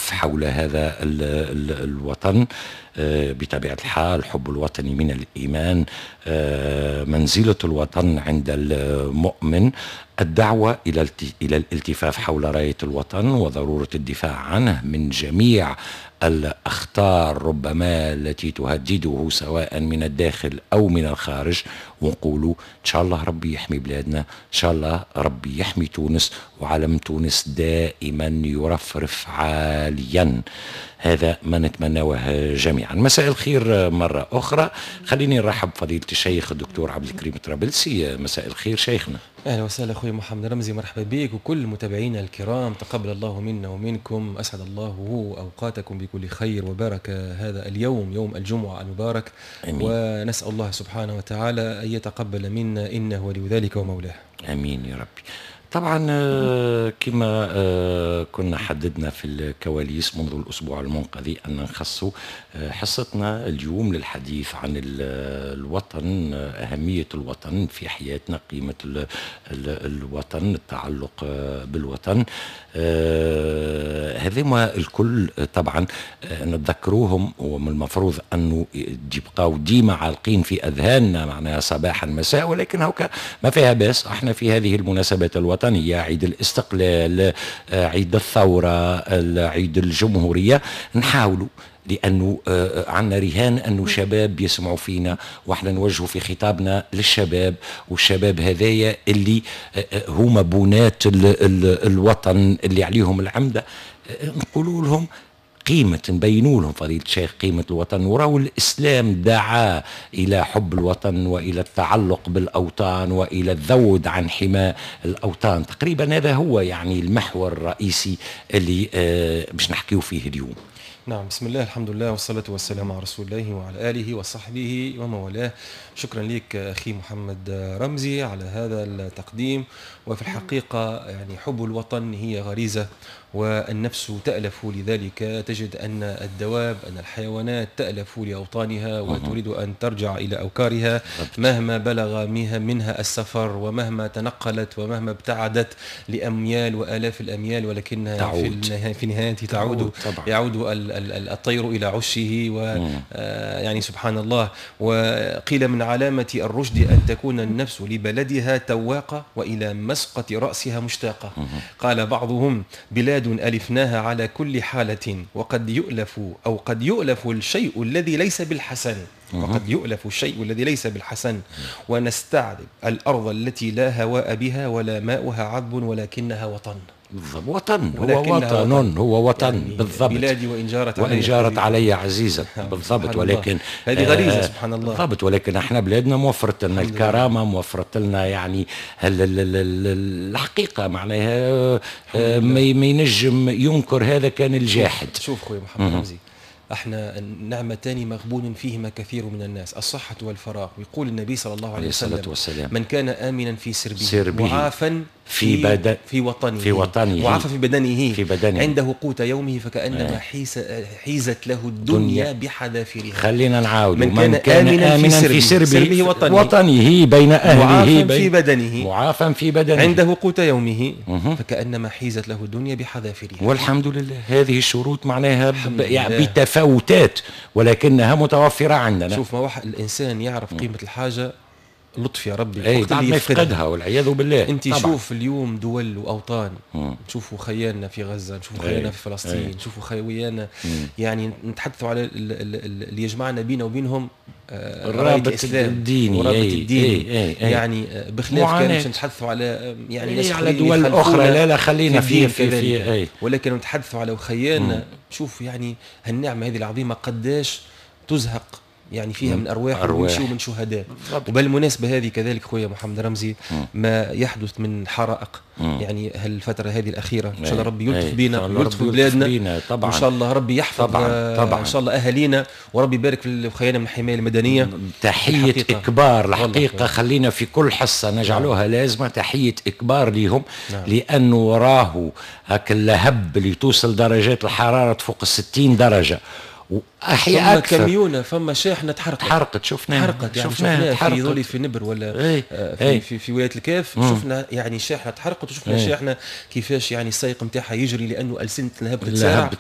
الالتفاف حول هذا الوطن. بطبيعة الحال حب الوطن من الإيمان، منزلة الوطن عند المؤمن، الدعوة إلى الالتفاف حول راية الوطن وضرورة الدفاع عنه من جميع الأخطار ربما التي تهدده سواء من الداخل أو من الخارج. ونقولوا إن شاء الله ربي يحمي بلادنا، إن شاء الله ربي يحمي تونس، وعلم تونس دائما يرفرف عاليا. هذا ما نتمناه جميعا. مساء الخير مرة أخرى. خليني نرحب بفضيلة الشيخ الدكتور عبد الكريم طرابلسي. مساء الخير شيخنا. أهلا وسهلا أخوي محمد رمزي، مرحبا بك وكل متابعينا الكرام. تقبل الله منا ومنكم، أسعد الله أوقاتكم بكل خير وبارك هذا اليوم، يوم الجمعة المبارك. آمين. ونسأل الله سبحانه وتعالى أن يتقبل منا، إنه ولي ذلك ومولاه. آمين يا ربي. طبعا كما كنا حددنا في الكواليس منذ الأسبوع المنقضي أن نخص حصتنا اليوم للحديث عن الوطن، أهمية الوطن في حياتنا، قيمة الوطن، التعلق بالوطن. هذما الكل طبعا نتذكروهم، ومن المفروض أنه يبقاو ديما عالقين في أذهاننا معناها صباحا مساء، ولكن هوكا ما فيها باس. احنا في هذه المناسبات الوطنية، عيد الاستقلال، عيد الثورة، عيد الجمهورية، نحاولوا، لأنه عندنا رهان أنه شباب يسمعوا فينا، وإحنا نوجهوا في خطابنا للشباب، والشباب هذايا اللي هما بنات الوطن اللي عليهم العمدة، نقولوا لهم قيمة، نبينوا لهم فضيلة الشيخ قيمة الوطن. وراو الإسلام دعا إلى حب الوطن وإلى التعلق بالأوطان وإلى الذود عن حمى الأوطان. تقريبا هذا هو يعني المحور الرئيسي اللي باش نحكيو فيه اليوم. نعم، بسم الله، الحمد لله، والصلاة والسلام على رسول الله وعلى آله وصحبه ومن والاه. شكرا لك أخي محمد رمزي على هذا التقديم. وفي الحقيقة يعني حب الوطن هي غريزة، والنفس تألف لذلك. تجد أن الدواب، أن الحيوانات تألف لأوطانها وتريد أن ترجع إلى أوكارها مهما بلغ منها السفر، ومهما تنقلت، ومهما ابتعدت لأميال وآلاف الأميال، ولكنها تعود. في نهاية تعود. طبعا. يعود الطير إلى عشه، و يعني سبحان الله. وقيل من علامة الرشد أن تكون النفس لبلدها تواقة وإلى مسقط رأسها مشتاقة. قال بعضهم: بلاد ألفناها على كل حالة، وقد يؤلف أو قد يؤلف الشيء الذي ليس بالحسن، وقد يؤلف الشيء الذي ليس بالحسن، ونستعذب الأرض التي لا هواء بها ولا ماؤها عذب ولكنها وطن. بالضبط، وطن، هو وطن، هو وطن يعني بالضبط. بلادي وإن جارت وإن جارت علي عزيزة. بالضبط، ولكن هذه غريزة سبحان الله. بالضبط، ولكن احنا بلادنا موفرت لنا الكرامة، موفرت لنا يعني الحقيقة معناها ما ينجم ينكر هذا كان الجاحد. شوف خويا محمد رمزي، احنا نعمتان مغبون فيهما كثير من الناس، الصحة والفراغ. ويقول النبي صلى الله عليه وسلم: من كان آمنا في سربه معافا في في وطنه، في وطنه، معافى في بدنه، في بدنه، عنده قوت يومه، فكأنما حيزت له الدنيا بحذافيرها. خلينا نعاود: من كان آمنا في سربه وطنه، بين أهله، معافى في بدنه، معافى في بدنه، عنده قوت يومه، فكأنما حيزت له الدنيا بحذافيرها. والحمد لله هذه الشروط معناها يعني بتفاوتات، ولكنها متوفرة عندنا. شوف، ما واحد الإنسان يعرف قيمة الحاجة، لطف يا ربي، اي بعد ما يفقدها والعياذ بالله. انت شوف اليوم دول واوطان، نشوفوا خيالنا في غزة، نشوفوا خيالنا في فلسطين، نشوفوا خيالنا، يعني نتحدثوا على اللي يجمعنا بينا وبينهم الرابط الديني، الرابط الديني. يعني بخلاف كان باش نتحدثوا على يعني ناس على دول اخرى، لا لا خلينا في ولكن نتحدثوا على خيالنا. شوف يعني هالنعمه هذه العظيمة قداش تزهق يعني فيها من أرواح ومن شهداء. وبالمناسبة هذه كذلك خويا محمد رمزي، ما يحدث من حرائق يعني هالفترة هذه الأخيرة، إن شاء الله ربي يلطف بينا ويلطف بلادنا طبعا، إن شاء الله ربي يحفظ طبعا. طبعا. إن شاء الله أهالينا، وربي يبارك في خيالنا من الحماية المدنية. تحية إكبار الحقيقة، خلينا في كل حصة نجعلوها لازمة تحية إكبار ليهم. لأنه راهو هاك اللهب اللي توصل درجات الحرارة فوق 60 درجة واحياء اكثر. فما كميونه، فما شاحنة تحرقت، شفناها، تحرقت، يعني شفناها في ذولي في نبر ولا ايه في, ايه في ولاية الكاف. شفنا يعني شاحنة تحرقت، وشفنا شاحنة كيفاش يعني السائق نتاعها يجري لانه السنة لهب تسارع.